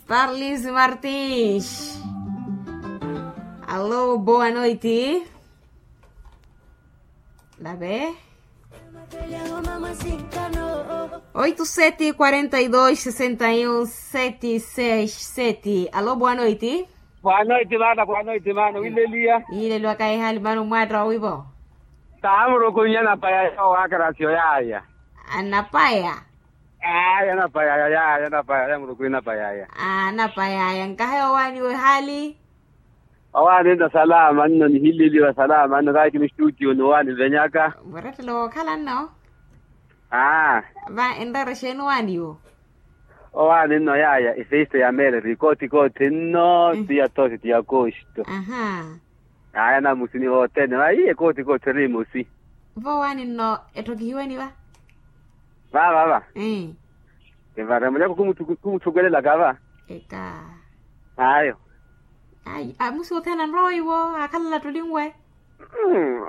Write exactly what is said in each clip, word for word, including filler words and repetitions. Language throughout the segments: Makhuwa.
Parlis Martins. Alô, boa noite. Lá vem. Oito sete quarenta e dois sessenta e um sete seis sete. Alô, boa noite. Boa noite, mana, boa noite, mana. Wileliya. Ileliwa kaihali mano mwatra wivo. Tamurukunya napaya yo wakarasio yaya. Anapaya. Aya napaya yaya, napaya ya murukunya napaya ya. Anapaya ya nkahe owani wehali. Owaani nno salama nno nihililiwa salama nno kaakini studio ni owaani nvenyaka. Murattelo wookhala nno. Aa. Va enreera exeeni owaani wo? Owaani nno yaya efesto ya meereri koothi koothi nno. Ti ya tosi ti ya kosto. Aha. Aya namusi ni vothene vahiye koothi koothi eri emosi. Vo owaani nno etthokihiweni va? Vava va. Eeh. Evara munyako khumuthukwelelaka va. Eka. Ayo. Ayi amusi othene anrowa iwo akhalala ttulinwe.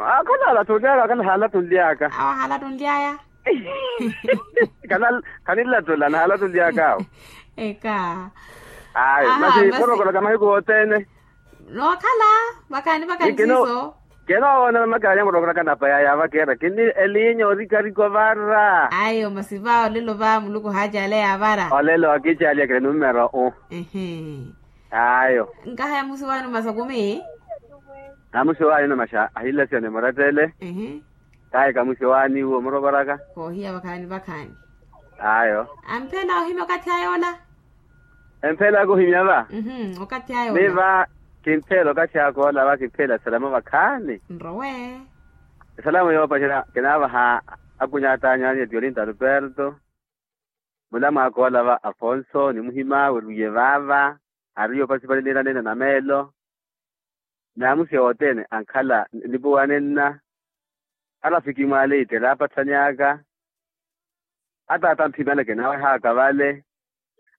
Akhalala ttulyaka akhalala ttulyaka. Awo akhalala ttulyaya. Khanilala ttula nakhalala ttulyaka awo. Eka. Ayo masi morokoraka mahiku othene. Nookhala vakhaani vakhaani siiso. Kenoowona makhaani amurookoraka napa yaya vakeera kini elinya orikarika ovara. Ayo masi va olelo va muluku ohaacaleya avara. Olelo akicalyakele numero u. Ayo. Nkaha yamusi waani masa kumi. Amusi waani namaxa ahilasiya ni murattele. Kahi kamusi waani uwo murokoraka. Koohiya vakhaani vakhaani. Ayo. Amphela ohimya okathi ayola. Emphela kuhimya va. Okathi ayo ni va. Kimphela okathi akoola va kimphela esalamu vakhaani. Nrowe. Esalamu yoopacerya kinaavaha. Akunyaata anyu anye tiolinta ruperto. Mulamu akoola va afonso ni muhima werwiye vaava. Ari yoopasipalelina nene na meelo. Naamusi othene ankhala nipuwanenna. Arafiki mwaaleite raapatthanyaka. Ataata mphimale kinawehaaka vale.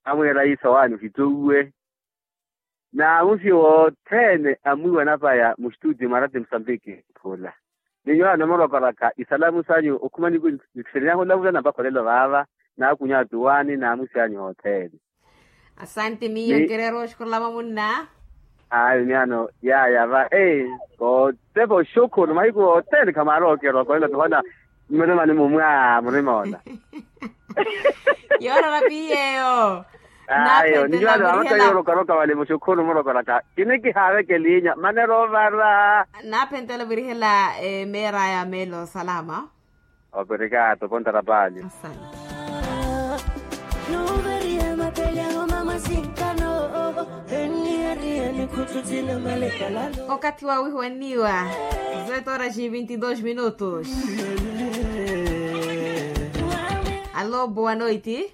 Amwiira iso waani ohittuwe. Naamusi wothene amwiiwa napaya mustutio mwa rati musambiki. Khula ni nyuwo anomurokoraka isalamu sanyu okhuma niku. Nitthiri nyahulavula nampakha olelo vaava. Naakunya attuwaani naamusi anyu othene. Asanti miyo nkireera oxukhurula vamunna. Ayo ni ano yaya va. Kootepa oxukhuru mahiku othene khamwaari okeera okolela tuhona. Mmurimani mumwa murima ola. Yoorara piyeyo. Ayo ni nyuwo ano amaka yoorokaroka vale muxukhuru murokoraka kinikihaaveke elinya manera ovara. Naaphentela ovirihela emeera ya meelo salama. Operekato pontara paali. Okathi wa wihuwaniwa. Zetoraxi vinti dos minutos. Alo boa noiti.